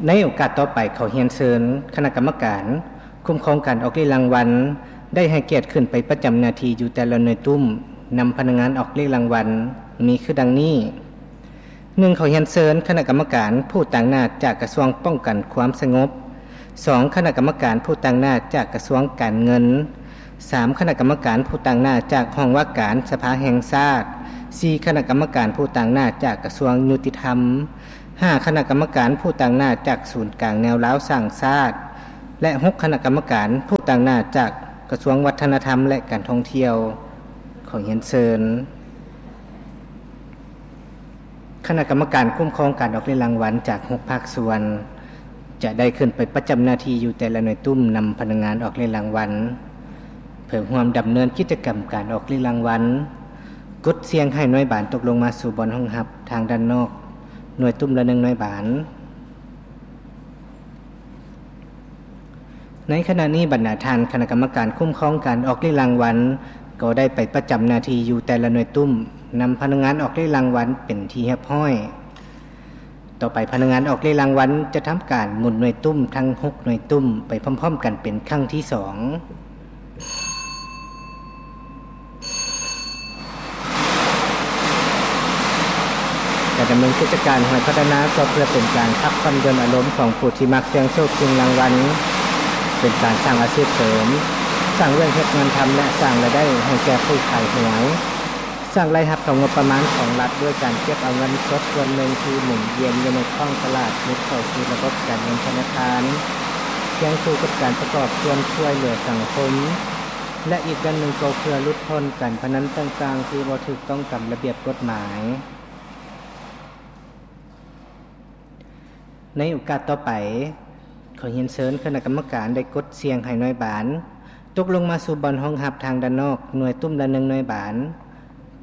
ໃນໂອກາດຕໍ່ໄປ ຂໍຮຽນເຊີນຄະນະກຳມະການຄຸ້ມຄອງການອອກເລກລາງວັນ ໄດ້ໃຫ້ກຽດຂຶ້ນໄປປະຈຳໜ້າທີ່ຢູ່ແຕ່ລະໜ່ວຍຕຸ້ມ ນຳພະນັກງານອອກເລກລາງວັນ ມີຄືດັ່ງນີ້. ໜຶ່ງ ຂໍຮຽນເຊີນຄະນະກຳມະການຜູ້ຕາງໜ້າຈາກກະຊວງປ້ອງກັນຄວາມສະຫງົບ, ສອງ ຄະນະກຳມະການຜູ້ຕາງໜ້າຈາກກະຊວງການເງິນ, ສາມ ຄະນະກຳມະການຜູ້ຕາງໜ້າຈາກຫ້ອງວ່າການສະພາແຫ່ງຊາດ, ສີ່ ຄະນະກຳມະການຜູ້ຕາງໜ້າຈາກກະຊວງຍຸຕິທຳ, ຫ້າ ຄະນະກຳມະການຜູ້ຕາງໜ້າຈາກສູນກາງແນວລາວສ້າງຊາດ ແລະ ຫົກ ຄະນະກຳມະການຜູ້ຕາງໜ້າຈາກກະຊວງວັດທະນະທຳ ແລະ ການທ່ອງທ່ຽວ. ຂໍຮຽນເຊີນຄະນະກຳມະການຄຸ້ມຄອງການອອກເລກລາງວັນຈາກຫົກພາກສ່ວນ ຈະໄດ້ຂຶ້ນໄປປະຈຳໜ້າທີ່ຢູ່ແຕ່ລະໜ່ວຍຕຸ້ມ ນຳພະນັກງານອອກເລກລາງວັນ ເພື່ອຮ່ວມດຳເນີນກິດຈະກຳການອອກເລກລາງວັນ. ກົດສ່ຽງໃຫ້ໜ່ວຍບານຕົກລົງມາສູ່ບ່ອນຮອງຮັບທາງດ້ານນອກ ໜ່ວຍຕຸ້ມລະໜຶ່ງໜ່ວຍບານ. ໃນຂະນະນີ້ ບັນດາທ່ານຄະນະກຳມະການຄຸ້ມຄອງການອອກເລກລາງວັນ ກໍໄດ້ໄປປະຈຳໜ້າທີ່ຢູ່ແຕ່ລະໜ່ວຍຕຸ້ມ ນຳພະນັກງານອອກເລກລາງວັນເປັນທີ່ຮຽບຮ້ອຍ. ຕໍ່ໄປພະນັກງານອອກເລກລາງວັນຈະທຳການໝູນໜ່ວຍຕຸ້ມທັງຫົກໜ່ວຍຕຸ້ມໄປພ້ອມໆກັນເປັນຄັ້ງທີສອງ. ການດຳເນີນກິດຈະການຫອຍພັດທະນາກໍເພື່ອເປັນການພັກຜ່ອນຢ່ອນອາລົມຂອງຜູ້ທີ່ມັກສ່ຽງໂຊກຊິງລາງວັນ, ເປັນການສ້າງອາຊີບເສີມ, ສ້າງວຽກເຮັດງານທຳ ແລະ ສ້າງລາຍໄດ້ໃຫ້ແກ່ຜູ້ຂາຍຫວຍ. ສ້າງລາຍຮັບເຂົ້າງົບປະມານຂອງລັດດ້ວຍການເກັບເອົາເງິນສົດສ່ວນໜຶ່ງທີ່ໝູນວຽນຢູ່ໃນທ້ອງຕະຫຼາດ ໝູນເຂົ້າສູ່ລະບົບການເງິນທະນາຄານ, ຄຽງຄູ່ກັບການປະກອບສ່ວນຊ່ວຍເຫຼືອສັງຄົມ ແລະ ອີກດ້ານໜຶ່ງກໍເພື່ອຫຼຸດພົ້ນການພະນັນຕ່າງໆທີ່ບໍ່ຖືກຕ້ອງຕາມລະບຽບກົດໝາຍ. ໃນໂອກາດຕໍ່ໄປ, ຂໍຮຽນເຊີນຄະນະກຳມະການໄດ້ກົດສ່ຽງໃຫ້ໜ່ວຍບານຕົກລົງມາສູ່ບ່ອນຮອງຮັບທາງດ້ານນອກ ໜ່ວຍຕຸ້ມລະໜຶ່ງໜ່ວຍບານ.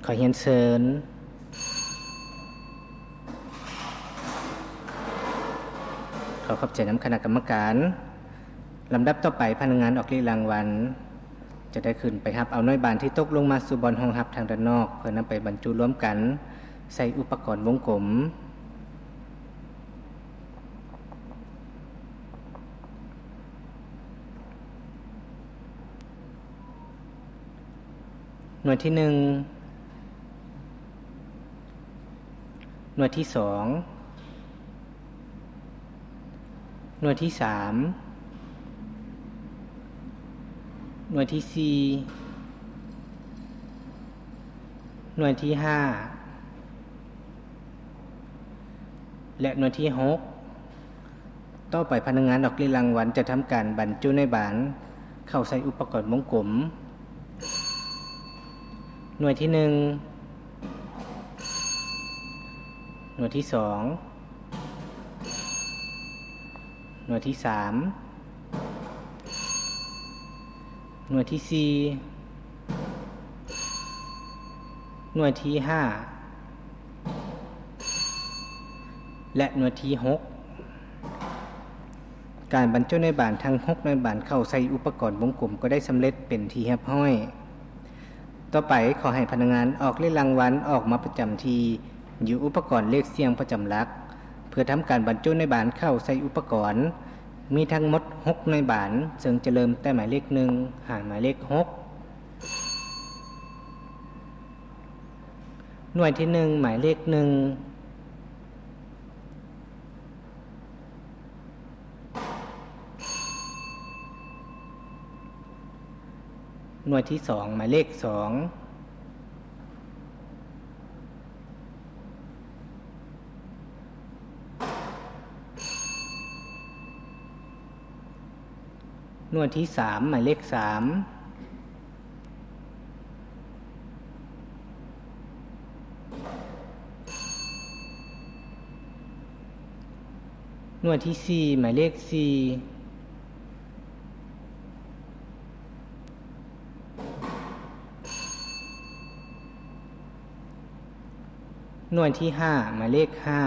ຂໍຮຽນເຊີນ. ຂໍຂອບໃຈນຳຄະນະກຳມະການ. ລຳດັບຕໍ່ໄປ, ພະນັກງານອອກເລກລາງວັນ ຈະໄດ້ຂຶ້ນໄປຮັບເອົາໜ່ວຍບານທີ່ຕົກລົງມາສູ່ບ່ອນຮອງຮັບທາງດ້ານນອກ ເພື່ອນຳໄປບັນຈຸລວມກັນໃສ່ອຸປະກອນວົງກົມ. ໜ່ວຍທີໜຶ່ງ, ໜ່ວຍທີສອງ, ໜ່ວຍທີສາມ, ໜ່ວຍທີສີ່, ໜ່ວຍທີຫ້າ ແລະ ໜ່ວຍທີຫົກ. ຕໍ່ໄປພະນັກງານອອກເລກລາງວັນຈະທຳການບັນຈຸໜ່ວຍບານເຂົ້າໃສ່ອຸປະກອນວົງກົມ. ໜ່ວຍທີໜຶ່ງ, ໜ່ວຍທີສອງ, ໜ່ວຍທີສາມ, ໜ່ວຍທີສີ່, ໜ່ວຍທີຫ້າ ແລະ ໜ່ວຍທີຫົກ. ການບັນຈຸໜ່ວຍບານທັງຫົກໜ່ວຍບານເຂົ້າໃສ່ອຸປະກອນວົງກົມກໍໄດ້ສຳເລັດເປັນທີ່ຮຽບຮ້ອຍ. ຕໍ່ໄປ, ຂໍໃຫ້ພະນັກງານອອກເລກລາງວັນອອກມາປະຈຳທີ່ຢູ່ອຸປະກອນເລກສ່ຽງປະຈຳຫຼັກ ເພື່ອທຳການບັນຈຸໜ່ວຍບານເຂົ້າໃສ່ອຸປະກອນ. ມີທັງໝົດຫົກໜ່ວຍບານ, ເຊິ່ງຈະເລີ່ມແຕ່ໝາຍເລກໜຶ່ງ ຫາໝາຍເລກຫົກ. ໜ່ວຍທີໜຶ່ງ, ໝາຍເລກໜຶ່ງ. ໜ່ວຍທີສອງ, ໝາຍເລກສອງ. ໜ່ວຍທີສາມ, ໝາຍເລກສາມ. ໜ່ວຍທີສີ່, ໝາຍເລກສີ່. ໜ່ວຍທີຫ້າ, ໝາຍເລກຫ້າ.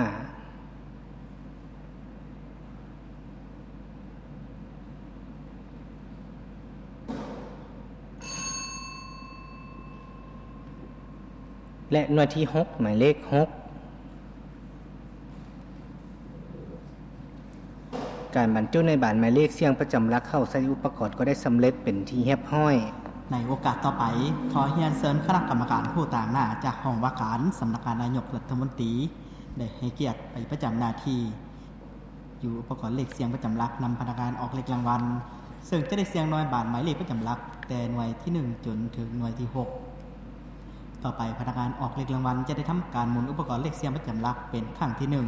ແລະ ໜ່ວຍທີຫົກ, ໝາຍເລກຫົກ. ການບັນຈຸໃນບານໝາຍເລກສຽງປະຈຳຫຼັກເຂົ້າໃສ່ອຸປະກອນກໍໄດ້ສຳເລັດເປັນທີ່ຮຽບຮ້ອຍ. ໃນໂອກາດຕໍ່ໄປ, ຂໍຮຽນເຊີນຄະນະກຳມະການຜູ້ຕາງໜ້າຈາກຫ້ອງວ່າການສຳນັກງານນາຍົກລັດຖະມົນຕີ ໄດ້ໃຫ້ກຽດໄປປະຈຳໜ້າທີ່ຢູ່ອຸປະກອນເລກສຽງປະຈຳຫຼັກນຳພະນັກງານອອກເລກລາງວັນ, ເຊິ່ງຈະໄດ້ສຽງໜ່ວຍບານໝາຍເລກປະຈຳຫຼັກແຕ່ໜ່ວຍທີໜຶ່ງຈົນເຖິງໜ່ວຍທີຫົກ. ຕໍ່ໄປພະນັກງານອອກເລກລາງວັນຈະໄດ້ທຳການໝູນອຸປະກອນເລກສຽງປະຈຳຫຼັກເປັນຄັ້ງທີໜຶ່ງ.